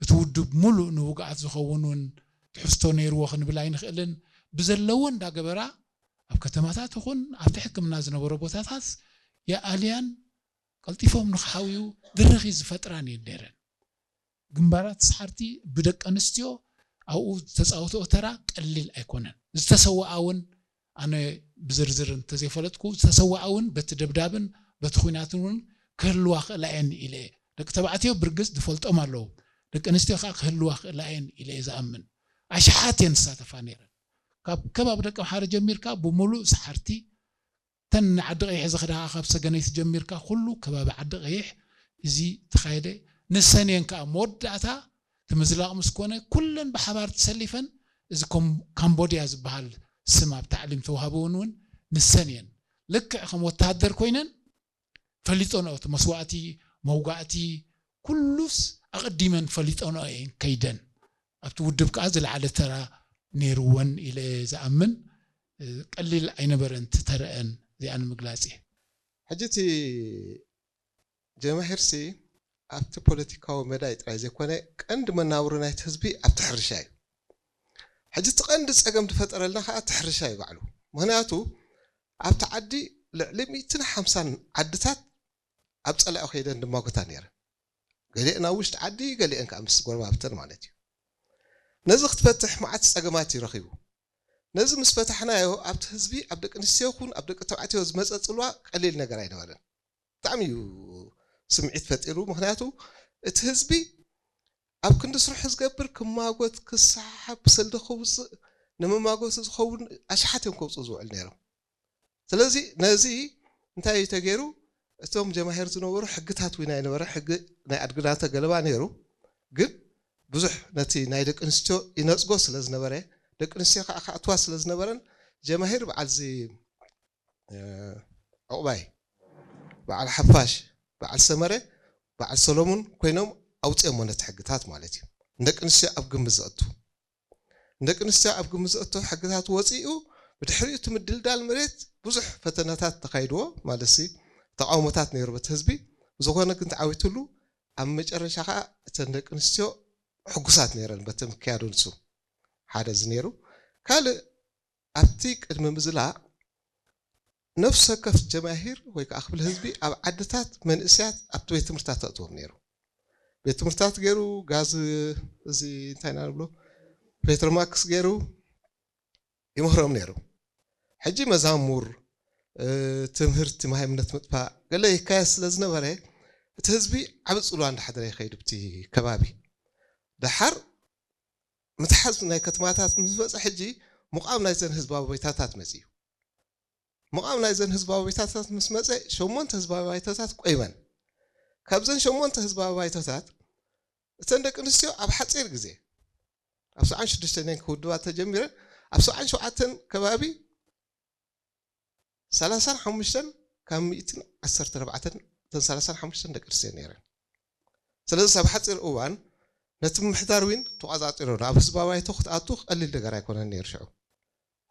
እቲ ውድብ ሙሉእ ንውግኣት ዝኸውን እውን ትሕዝቶ ነይርዎ ክንብል ኣይንኽእልን። ብዘለዎ እንዳገበራ ኣብ ከተማታት ይኹን ኣብቲ ሕክምና ዝነበሮ ቦታታት የኣልያን ቀልጢፎም ንክሓውዩ ድርኺ ዝፈጥራን እየን ነይረን። ግንባራት ሰሓርቲ ብደቂ ኣንስትዮ ኣብኡ ዝተፃወተኦ ተራ ቀሊል ኣይኮነን። ዝተሰወኣ እውን ኣነ ብዝርዝር እንተዘይፈለጥኩ ዝተሰወኣ እውን በቲ ደብዳብን በቲ ኹናትን እውን ክህልዋ ክእላ እየን ኢለ እየ። ደቂ ተባዕትዮ ብርግፅ ዝፈልጦም ኣለዉ። ደቂ ኣንስትዮ ከዓ ክህልዋ ክእላ እየን ኢለ እየ ዝኣምን። ኣሽሓት እየን ዝሳተፋ ነይረን። ካብ ከባቢ ደቂ ኣምሓረ ጀሚርካ ብምሉእ ሰሓርቲ ተን ዓዲ ቀይሕ ዝኸዳ ካብ ሰገነይቲ ጀሚርካ ኩሉ ከባቢ ዓዲ ቀይሕ እዚ ተኻየደ። ንሰን እየን ከዓ መወዳእታ እቲ ምዝላቕ ምስ ኮነ ኩለን ብሓባር ተሰሊፈን እዚ ኮም- ካምቦድያ ዝበሃል ስም ኣብ ታዕሊም ተዋህበውን እውን ንሰን እየን ልክዕ ከም ወታሃደር ኮይነን ፈሊጦንኦ እቲ መስዋእቲ መውጋእቲ ኩሉስ ኣቐዲመን ፈሊጦንኦ እየን ከይደን ኣብቲ ውድብ ከዓ ዝለዓለ ተራ ነይርወን ኢለ ዝኣምን ቀሊል ኣይነበረን ትተረአን እዚኣ ንምግላፅ እየ። ሕጂ እቲ ጀማሂርሲ ኣብቲ ፖለቲካዊ መዳይ ጥራይ ዘይኮነ ቀንዲ መናብሮ ናይቲ ህዝቢ ኣብቲ ሕርሻ እዩ። ሕጂ እቲ ቀንዲ ፀገም ዝፈጠረልና ከዓ እቲ ሕርሻ እዩ ባዕሉ። ምክንያቱ ኣብቲ ዓዲ ልዕሊ ሚእትን ሓምሳን ዓድታት ኣብ ፀላኢ ከይደን ድማጎታ ነይረን። ገሊአን ኣብ ውሽጢ ዓዲ፣ ገሊአን ከዓ ምስ ጎረባብተን ማለት እዩ። ነዚ ክትፈትሕ መዓት ፀገማት እዩ ረኺቡ። ነዚ ምስ ፈታሕናዮ ኣብቲ ህዝቢ ኣብ ደቂ ኣንስትዮ ይኹን ኣብ ደቂ ተባዕትዮ ዝመፀ ፅልዋ ቀሊል ነገር ኣይነበረን። ብጣዕሚ እዩ ስምዒት ፈጢሩ። ምክንያቱ እቲ ህዝቢ ኣብ ክንዲ ስርሑ ዝገብር ክማጎት ክሰሓሓብ ብሰልዲ ከውፅእ ንመማጎቲ ዝኸውን ኣሽሓት እዮም ከውፅኡ ዝውዕል ነይሮም። ስለዚ ነዚ እንታይ እዩ ተገይሩ? እቶም ጀማሂር ዝነበሩ ሕግታት እውን ኣይነበረ ሕጊ ናይ ኣድግዳተ ገለባ ነይሩ። ግን ብዙሕ ነቲ ናይ ደቂ ኣንስትዮ ይነፅጎ ስለ ዝነበረ ደቂ ኣንስትዮ ከዓ ክኣትዋ ስለ ዝነበረን ጀማሂር በዓል እዚ ዕቑባይ በዓል ሓፋሽ በዓል ሰመረ በዓል ሰሎሙን ኮይኖም ኣውፅኦሞ ነቲ ሕግታት ማለት እዩ። ንደቂ ኣንስትዮ ኣብ ግምት ዘእቱ ንደቂ ኣንስትዮ ኣብ ግምት ዘእቱ ሕግታት ወፂኡ ብድሕሪኡ እቲ ምድልዳል መሬት ብዙሕ ፈተናታት ተካይድዎ ማለት ሲ ተቃውሞታት ነይሩ በቲ ህዝቢ። ብዝኾነ ግን ተዓዊትሉ ኣብ መጨረሻ ከዓ እተን ደቂ ኣንስትዮ ሕጉሳት ነይረን በቲ ምክያዱ ንሱ ሓደ እዚ ነይሩ። ካልእ ኣብቲ ቅድሚ ምዝላእ ነፍሲ ወከፍ ጀማሂር ወይ ከዓ ክፍሊ ህዝቢ ኣብ ዓድታት መንእስያት ኣብቲ ቤት ትምህርትታት ተእትዎም ነይሩ። ቤት ትምህርትታት ገይሩ ጋዝ እዚ እንታይ ኢና ንብሎ ፔትሮማክስ ገይሩ ይምህሮም ነይሩ። ሕጂ መዛሙር ትምህርቲ ማሃይምነት ምጥፋእ ገለ ይካየድ ስለ ዝነበረ እቲ ህዝቢ ዓብ ፅልዋ እንዳሓደረ ይኸይድ ብቲ ከባቢ ደሓር ምትሓዝ ናይ ከተማታት ምስ መፀ ሕጂ ምቋም ናይዘን ህዝባዊ ባይታታት መፅዩ። ምቋም ናይዘን ህዝባዊ ባይታታት ምስ መፀ ሸሞንተ ህዝባዊ ባይታታት ቆይመን። ካብዘን ሸሞንተ ህዝባዊ ባይታታት እተን ደቂ ኣንስትዮ ኣብ ሓፂር ግዜ ኣብ ሰብዓን ሽዱሽተን ክውድባ ተጀሚረን ኣብ ሰብዓን ሸውዓተን ከባቢ ሰላሳን ሓሙሽተን ካብ ሚእትን ዓሰርተ ኣርባዕተን እተን ሰላሳን ሓሙሽተን ደቂ ኣንስትዮ ነይረን። ስለዚ ኣብ ሓፂር እዋን ነቲ ምምሕዳር ዊን ተቋፃፂሮ ናብ ህዝባዊ ባይቶ ክትኣቱ ቀሊል ነገር ኣይኮነን ነይሩ ሽዑ።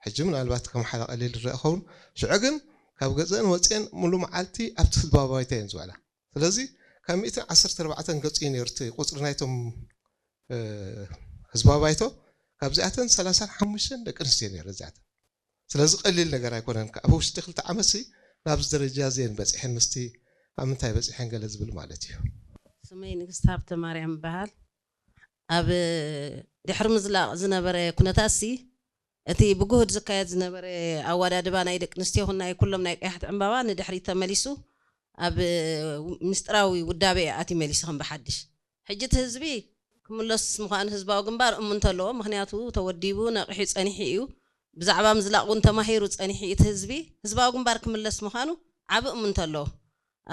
ሕጂ ምናልባት ከም ሓደ ቀሊል ዝረአ ኸውን ሽዑ ግን ካብ ገዘን ወፅየን ሙሉ መዓልቲ ኣብቲ ህዝባዊ ባይቶ እየን ዝውዕላ። ስለዚ ካብ ሚእትን ዓሰርተ ኣርባዕተን ገፁ እዩ ነይሩ እቲ ቁፅሪ ናይቶም ህዝባዊ ባይቶ ካብዚኣተን ሰላሳን ሓሙሽተን ደቂ ኣንስትዮ ነይረ እዚኣተን ስለዚ ቀሊል ነገር ኣይኮነን ኣብ ውሽጢ ክልተ ዓመት ሲ ናብዚ ደረጃ እዚአን በፂሐን ምስቲ ኣብ ምንታይ በፂሐን ገለ ዝብል ማለት እዩ። ስመይ ንግስቲ ሃብተ ማርያም ይበሃል። ኣብ ድሕሪ ምዝላቕ ዝነበረ ኩነታት ሲ እቲ ብጉህድ ዝካየድ ዝነበረ ኣወዳድባ ናይ ደቂ ኣንስትዮ ይኹን ናይ ኩሎም ናይ ቀያሕቲ ዕምባባ ንድሕሪት ተመሊሱ ኣብ ምስጢራዊ ውዳበ እዩ ኣትዩ መሊሱ ከም ብሓድሽ። ሕጂ እቲ ህዝቢ ክምለስ ምዃኑ ህዝባዊ ግንባር እሙን እንተለዎ፣ ምኽንያቱ ተወዲቡ ነቒሑ ጸኒሑ እዩ። ብዛዕባ ምዝላቕ እውን ተማሂሩ ጸኒሑ እዩ እቲ ህዝቢ። ህዝባዊ ግንባር ክምለስ ምዃኑ ዓቢ እሙን እንተለዎ፣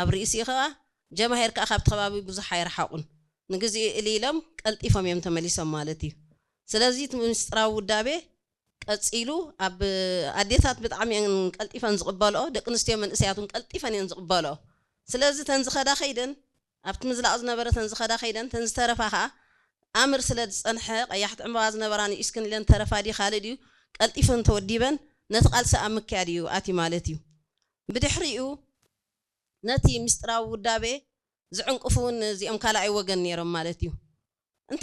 ኣብ ርእሲኡ ከኣ ጀማሂር ከኣ ካብቲ ከባቢ ብዙሕ ኣይረሓቑን። ንግዚኡ እልይ ኢሎም ቀልጢፎም እዮም ተመሊሶም ማለት እዩ። ስለዚ እቲ ምስጢራዊ ውዳቤ ቀጺሉ ኣብ ኣዴታት ብጣዕሚ እየን ቀልጢፈን ዝቕበልኦ፣ ደቂ ኣንስትዮ መንእሰያት እውን ቀልጢፈን እየን ዝቕበልኦ። ስለዚ እተን ዝኸዳ ከይደን ኣብቲ ምዝላቕ ዝነበረ እተን ዝኸዳ ከይደን እተን ዝተረፋ ከኣ ኣምር ስለ ዝጸንሐ ቀያሕቲ ዕምባባ ዝነበራ ንኢስክን ኢለን ተረፋ ድዩ ካልእ ድዩ ቀልጢፈን ተወዲበን ነቲ ቃልሲ ኣብ ምክያድ እዩ ኣትዩ ማለት እዩ። ብድሕሪኡ ነቲ ምስጢራዊ ውዳቤ ዝዕንቅፉ እውን እዚኦም ካልኣይ ወገን ነይሮም ማለት እዩ።